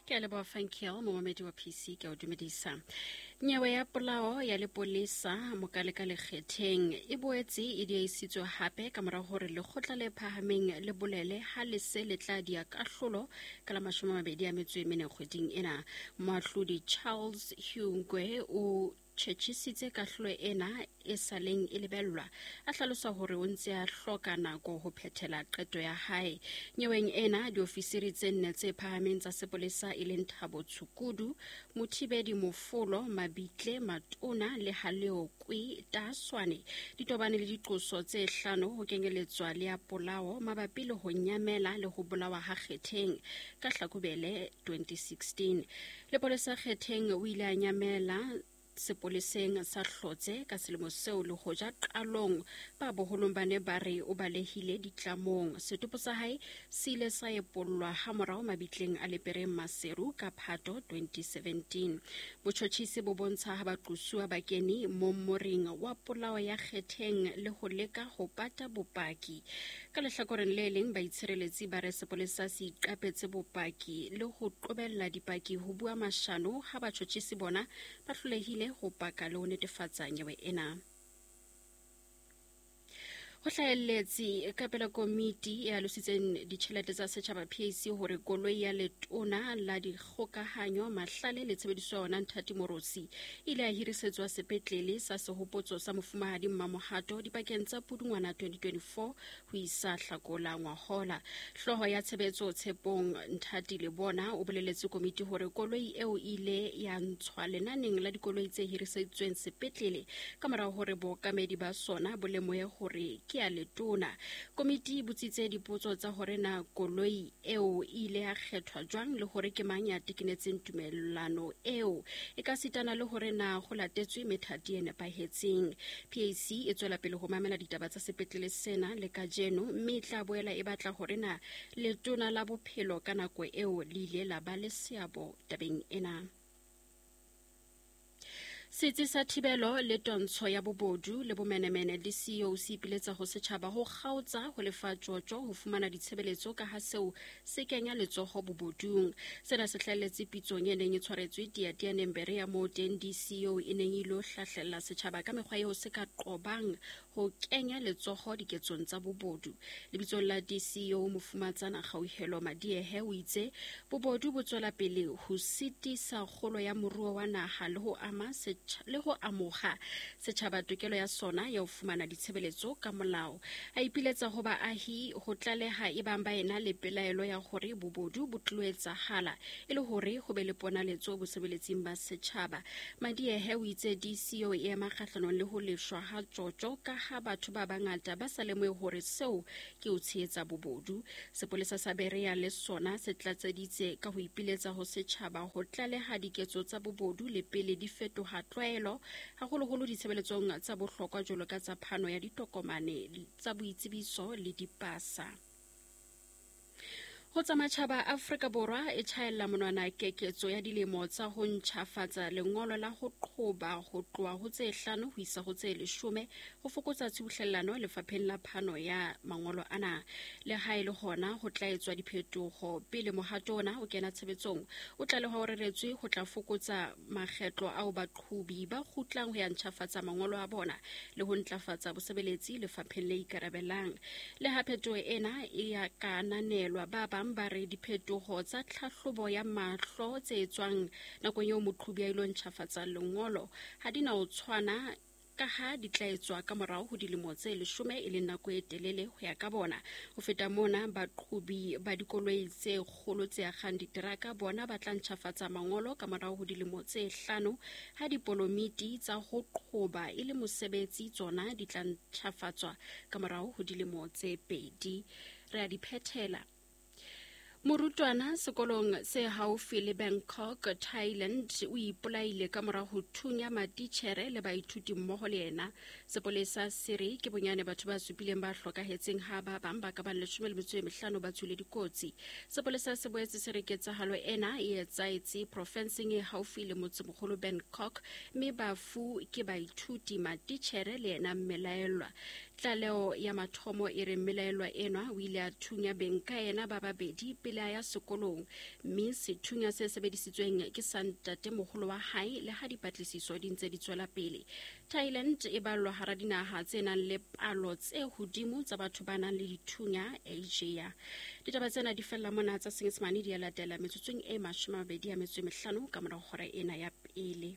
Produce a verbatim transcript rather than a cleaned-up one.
Ke a leboha Fankiel, momamedi wa P C, ke a o dumedisa. Nyewe ya polao ya lepolesa Mokaleka Lekgetheng e boetse e diehisitswe hape ka mora hore lekgotla le phahameng le bolele ha le se le tla dia kahlolo ka la mashome a mabedi a metso e mene kgweding ena. Moahlodi Charles Hungwe o tjhetjhisitse kahlolo ena e saleng e lebellwa, a hlalosa hore o ntse a hloka nako ho phethela qeto ya hae. Nyeweng ena diofisiri tse nne tse phahameng tsa sepolesa e leng Thabo Tshukudu, Mothibedi Mofolo, Mabitle Matona le Haleokwe Taswane di tobane le diqoso tse hlano ho kenyeletswa le ya polao mabapi le ho nyamela le ho bolawa ha Kgetheng ka Hlakubele twenty sixteen. Lepolesa Kgetheng o ile a nyamela sepoleseng sa Hlotse ka selemo seo le hoja qalong ba boholong ba ne ba re o balehile ditlamong. Setopo sa hae se ile sa epollwa ha morao mabitleng a Lepereng Maseru ka Phato twenty seventeen. Botjhotjhisi bo bontsha ha baqosuwa ba kene mommoring wa polao ya Kgetheng le ho leka ho pata bopaki. Ka lehlakoreng le leng, baitshireletsi ba re sepolesa se iqapetse bopaki le ho qobella dipaki ho bua mashano ha batjhotjhisi bona ba hlolehile ho paka le ho netefatsa nyewe ena. Ho hlahelletse ka pela komiti e alositseng ditjhelete tsa setjhaba P A C hore koloi ya letona la dikgokahanyo mahlale le tshebediso ya ona Nthati Morosi e ile ya hirisetswa sepetlele sa sehopotso sa mofumahadi Mmamohato dipakeng tsa Pudungwana twenty twenty-four ho isa Hlakola ngwahola. Hlooho ya tshebetso Tshepong Nthati Lebona o boleletse komiti hore koloi eo e ile ya ntshwa lenaneng la dikoloi tse hiriseditsweng sepetlele ka morao hore bookamedi ba sona bo lemohe hore ke ya letona. Komiti e botsitse dipotso tsa hore na koloi eo e ile ya kgethwa jwang le hore ke mang ya tekenetseng tumellano eo, e ka sitana le hore na ho latetswe methati e nepahetseng. P A C e tswela pele ho mamela ditaba tsa sepetlele sena le kajeno, mme e tla boela e batla hore na letona la bophelo ka nako eo le ile la ba le seabo tabeng ena. Setsi sa thibelo le twantsho ya bobodu le bomenemene le C E O se ipiletsa ho setjhaba ho kgaotsa ho lefa tjotjo ho fumana ditshebeletso ka ha seo se kenya letsoho bobodung. Sena se hlahelletse pitsong e neng e tshwaretswe Teatianeng Berea moo teng D C O e neng e ilo hlahlella setjhaba ka mekgwa eo se ka qobang ho kenya letsoho diketsong tsa bobodu. Lebitsong la D C O Mofumatsana Kgauhelo Madiehe o itse bobodu bo tswela pele ho sitisa kgolo ya moruo wa naha le ho ama le ho amoha setjhaba tokelo ya sona ya ho fumana ditshebeletso ka molao. A ipiletsa ho baahi ho tlaleha ebang ba ena le pelaelo ya hore bobodu bo tlo etsahala e le hore ho be le ponaletso bosebeletsing ba setjhaba. Madiehe o itse D C O e ema kgahlanong le ho lefshwa ha tjotjo ka ha batho ba bangata ba sa lemohe hore seo ke ho tshehetsa bobodu. Sepolesa sa Berea le sona se tlatseditse ka ho ipiletsa ho setjhaba ho tlaleha diketso tsa bobodu le pele di fetoha tlwaelo, haholoholo ditshebeletsong tsa bohlokwa jwalo ka tsa phano ya ditokomane tsa boitsebiso le dipasa. Ho tsa matjhaba, Afrika Borwa e tjhaella monwana keketso ya dilemo tsa ho ntjhafatsa lengolo la ho qhoba ho tloha ho tse hlano ho isa ho tse leshome ho fokotsa tshubuhlellano lefapheng la phano ya mangolo ana. Le ha e le hona ho tla etswa diphetoho pele mohato ona o kena tshebetsong. O tlalehwa o reretswe ho tla fokotsa makgetlo ao baqhobi ba kgutlang ho ya ntjhafatsa mangolo a bona le ho ntlafatsa bosebeletsi lefapheng le ikarabelang. Le ha phetoho ena e ya ka ananelwa, ba bang ba re diphetoho tsa tlhahlobo ya mahlo tse etswang nakong eo moqhobi a ilo ntjhafatsa lengolo ha di na ho tshwana ka ha di tla etswa ka morao ho dilemo tse leshome e leng nako e telele ho ya ka bona. Ho feta mona, baqhobi ba dikoloi tse kgolo tse akgang diteraka bona ba tla ntjhafatsa mangolo ka morao ho dilemo tse hlano, ha dipolomiti tsa ho qhoba e le mosebetsi tsona di tla ntjhafatswa ka morao ho dilemo tse pedi. Re a di phethela. Morutwana sekolong se haufi le Bangkok, Thailand, o ipolaile ka mora ho thunya matitjhere le baithuti mmoho le yena. Sepolesa se re ke bonyane batho ba supileng ba hlokahetseng ha ba bang ba ka bang leshome le metso e mehlano ba tswile dikotsi. Sepolesa se boetse se re ketsahalo ena e etsahetse profenseng e haufi le motsemoholo Bangkok, mme bafu ke baithuti, matitjhere le yena mmelaellwa. Tlaleho ya mathomo e re mmelaelwa enwa o ile a thunya beng ka yena ba babedi pele a ya sekolong, mme sethunya se sebedisitsweng ke sa ntatemoholo wa hae le ha dipatlisiso di ntse di tswela pele. Thailand e ballwa hara dinaha tse nang le palo tse hodimo tsa batho ba nang le dithunya Asia. Ditaba tsena di fella mona, tsa Senyesemane di a latela metsotsong e mashome a mabedi a metso e mehlano ka mora hora ena ya pele.